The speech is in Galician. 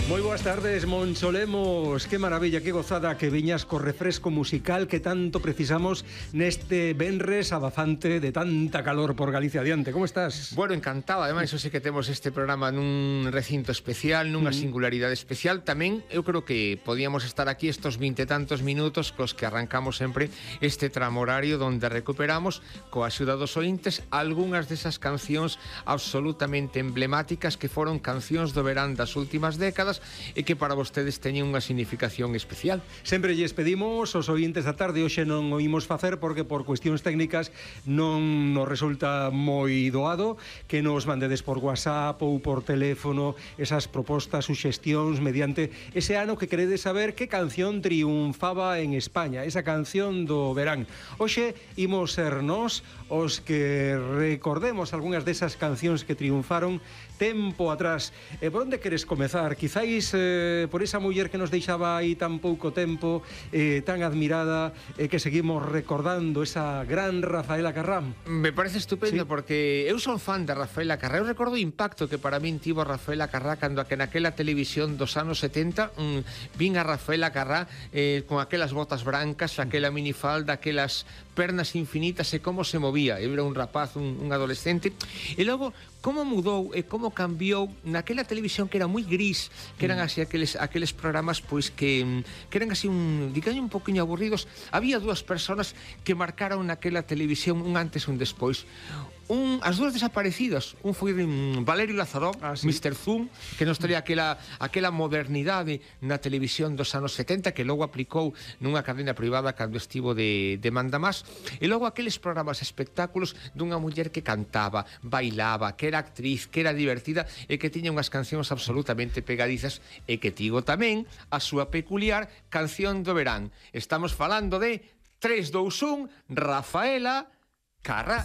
Moi boas tardes, Moncholemos. Que maravilla, que gozada que viñas co refresco musical que tanto precisamos neste venres abafante de tanta calor por Galicia adiante. Como estás? Bueno, encantado. Ademais, eu sei que temos este programa nun recinto especial, nunha singularidade especial. Tamén, eu creo que podíamos estar aquí estos 20 e tantos minutos cos que arrancamos sempre este tramo horario donde recuperamos, coa axuda dos ointes, algunhas desas cancións absolutamente emblemáticas que foron cancións do verán das últimas décadas e que para vostedes teñen unha significación especial. Sempre lles pedimos aos ointes da tarde, hoxe non o imos facer porque por cuestións técnicas non nos resulta moi doado que nos mandedes por WhatsApp ou por teléfono esas propostas, suxestións mediante ese ano que queredes saber que canción triunfaba en España, esa canción do verán. Hoxe imos ser nós os que recordemos algunhas desas cancións que triunfaron tempo atrás. Por onde queres comezar? Quizáis por esa muller que nos deixaba aí tan pouco tempo, tan admirada, que seguimos recordando, esa gran Rafaela Carrá. Me parece estupendo, Sí. porque eu son fan de Rafaela Carrá. Eu recordo o impacto que para min tivo Rafaela Carrá cando naquela televisión dos anos 70 vin a Rafaela Carrá con aquelas botas brancas, aquela minifalda, aquelas pernas infinitas e como se movía. Eu era un rapaz, un adolescente, e logo como mudou e como cambiou naquela televisión que era moi gris, que eran así aqueles programas pois que eran así digamos un poquinho aburridos. Había dúas persoas que marcaron naquela televisión un antes e un despois. As dúas desaparecidas, un foi Valerio Lázaro, sí. Mr. Zoom, que nos traía aquela modernidade na televisión dos anos 70 que logo aplicou nunha cadena privada cando estivo de mandamás, e logo aqueles programas espectáculos dunha muller que cantaba, bailaba, que era actriz, que era divertida e que tiña unhas cancións absolutamente pegadizas e que tivo tamén a súa peculiar canción do verán. Estamos falando de 3, 2, 1, Rafaela Carrá.